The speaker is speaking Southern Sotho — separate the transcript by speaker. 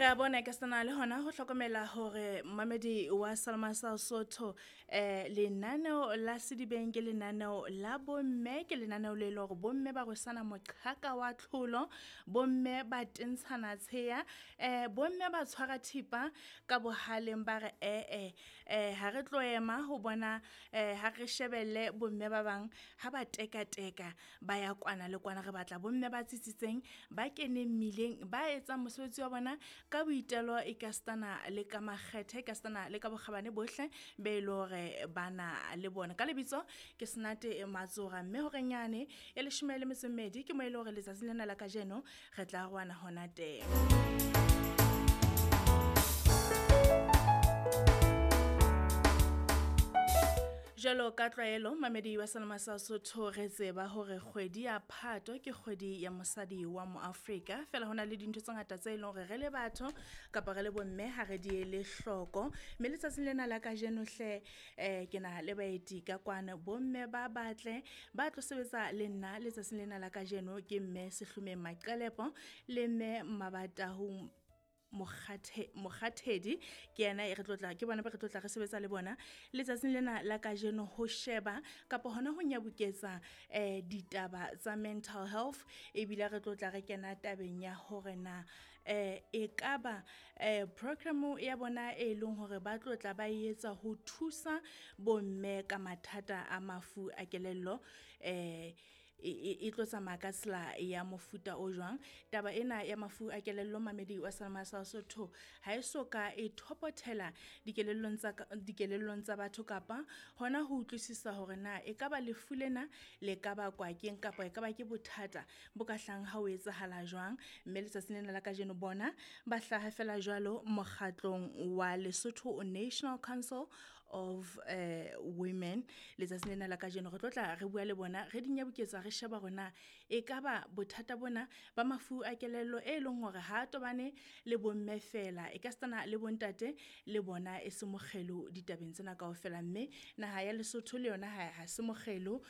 Speaker 1: Re a bona ka sena le hona ho hlokomela hore mamedi wa Salma sa Sotho lenaneo la Sedibeng ke lenaneo la bomme, ke lenaneo le le hore bomme ba rwesana moqhaka wa tlholo, bomme ba tentshana tsheya, bomme ba tshwara thipa ka bohaleng ba re ee ha re tlo ema ho bona ha re shebelle bomme ba bang ha ba teka teka ba ya kwana le kwana. Re batla bomme ba tsitsitseng, ba keneng mmileng, ba etsang mosebetsi wa bona ka boitelo e ka stana le ka makgethe, ka stana le ka bokgabane bohle be le hore bana le bona. Ka lebitso ke Senate Matsora, mme horeng yane ya 12 ke mo ile hore letsatsing lena la kajeno re tla rwana hona teng. Jwalo ka tlwaelo mamedi wa Salama sa Sotho, re tseba hore kgwedi ya Phato ke kgwedi ya mosadi wa moAfrika. Fela hona le dintho tse ngata tse leng hore re le batho kapa re le bomme ha re di ele hloko. Mme letsatsing lena la kajeno hle ke na le baeti ka kwana, bomme ba batle ba tlo sebetsa le nna letsatsing lena la kajeno. Ke mme Sehlomeng Maqelepo le mme Mabatahong Mokgathedi, ke yena e re tlotla, ke bona ba re tlotla re sebetsa le bona letsatsing lena la kajeno ho sheba kapa hona ho nyabuketsa ditaba tsa mental health. Ebile re tlotla re kena tabeng ya hore na e kaba program ya bona e leng hore ba tlotla ba etsa ho thusa bomme ka mathata a mafu a kelello e tlo tsamaya ka tsela ya mofuta o jwang. Taba ena ya mafu a kelello mamedi wa Salama sa Sotho ha e so ka e thopothela dikelellong tsa batho kapa hona ho utlwisisa hore na e ka ba lefu lena le ka bakwa keng kapa e ka ba ke bothata bo ka hlang ha o etsahala jwang. Mme letsatsing lena la kajeno bona ba hlaha fela jwalo mokgatlong wa Lesotho National Council of Women. Letsatsing lena la kajeno re tlotla re bua le bona, re di nyabuketsa, re sheba hore na e ka ba bothata bona ba mafu a kelello e leng hore ha tobane le bomme fela, e ka stana le bontate le bona e se mokgelo ditabeng tsena kaofela. Mme naha ya Lesotho le yona ha se mokgelo.